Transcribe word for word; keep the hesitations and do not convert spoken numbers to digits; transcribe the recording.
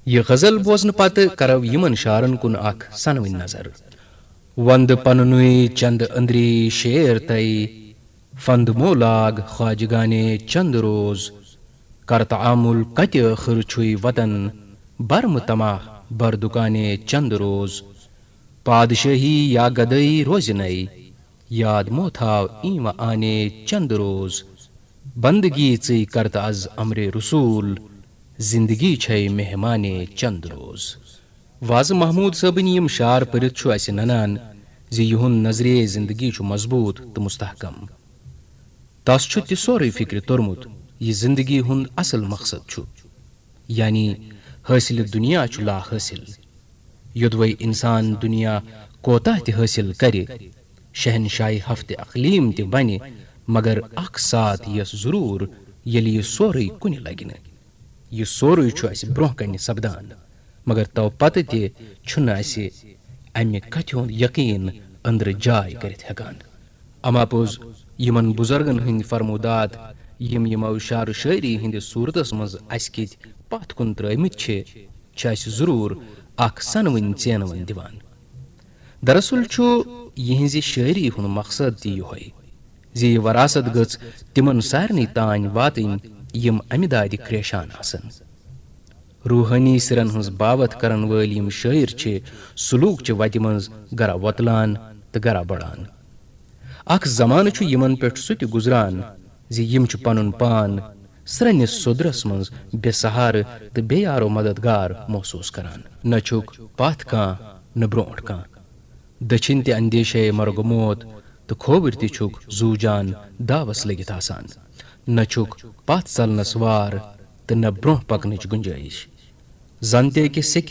یہِ غزل بوزنہٕ پتہٕ کرو یِمن شعرن کُن اکھ سنوٕنۍ نظر۔ وندٕ پننُے چندٕ أنٛدری شیر تۄہہِ، فند مو لاگ خواجگانے چند روز۔ کر تعامل کتہِ ٲخٕر چھُے وطن، برمہٕ تماہ بر دُکانے چند روز۔ پادشٲہی یا گدٲیی روزِ نے، یاد مو تھاو ایٖنوٕ آنے چند روز۔ بندگی ژٕے کرتہٕ از امرِ رسول، زندگی چھے مہمانے چند روز۔ وازٕ محمود صٲبٕنۍ یِم شعر پٔرِتھ چھُ اسہِ ننان زِ یِہُنٛد نظریہ زندگی چھُ مضبوط تہٕ مستحکم۔ تس چھُ تہِ سورُے فکرِ توٚرمُت، یہِ زندگی ہُنٛد اصل مقصد چھُ، یعنی حٲصِلِ دُنیا چھُ لا حٲصِل۔ یوٚدوَے انسان دُنیا کوتاہ تہِ حٲصِل کرِ، شہنشاہی ہفتِ اقلیٖم تہِ بنہِ، مگر اکھ ساتھ یِیَس ضروٗر، ییٚلہِ یہِ سورُے کُنہِ لگہِ نہٕ۔ یہِ سورُے چھُ اسہِ برونٛہہ کنہِ سپدان، مگر تو پتہٕ تہِ چھُنہٕ اسہِ امہِ کتھِ ہُنٛد یقین أنٛدرٕ جاے کٔرِتھ ہٮ۪کان۔ اما پوٚز، یِمن بُزرگن ہٕنٛدۍ فرمودات، یِم یِمو شعر و شٲعری ہٕنٛدِس صوٗرتس منٛز اسہِ کِتۍ پتھ کُن ترٲومٕتۍ چھِ، چھِ اسہِ ضروٗر اکھ سنوٕنۍ ژینوٕنۍ دِوان۔ دراصل چھُ یِہنٛزِ شٲعری ہُنٛد مقصد تہِ یِہوٚے زِ یہِ وراثت گٔژھ تِمن سارنٕے تام واتٕنۍ، یِم امہِ دادِ کریشان آسن۔ روحٲنی سِرن ہٕنٛز باوتھ کرن وٲلۍ یِم شٲعر چھِ، سلوک چہِ وتہِ منٛز گرا وۄتلان تہٕ گرا بڑان۔ اکھ زمانہٕ چھُ یِمن پٮ۪ٹھ سُہ تہِ گُزران زِ یِم چھِ پنُن پان سرٛنِس سوٚدرس منٛز بے سہارٕ تہٕ بے یارو مددگار محسوس کران۔ نہ چھُکھ پتھ کانٛہہ، نہ برونٛٹھ کانٛہہ۔ دٔچھِنۍ تہِ اندیشے مرگ موت تہٕ کھووٕرۍ تہِ چھُکھ زوٗ جان داوس لٔگِتھ آسان۔ نہ چھُکھ پتھ ژلنس وار تہٕ نہ برونٛہہ پکنٕچ گُنجٲیِش۔ زن تہِ أکِس سیٚکہِ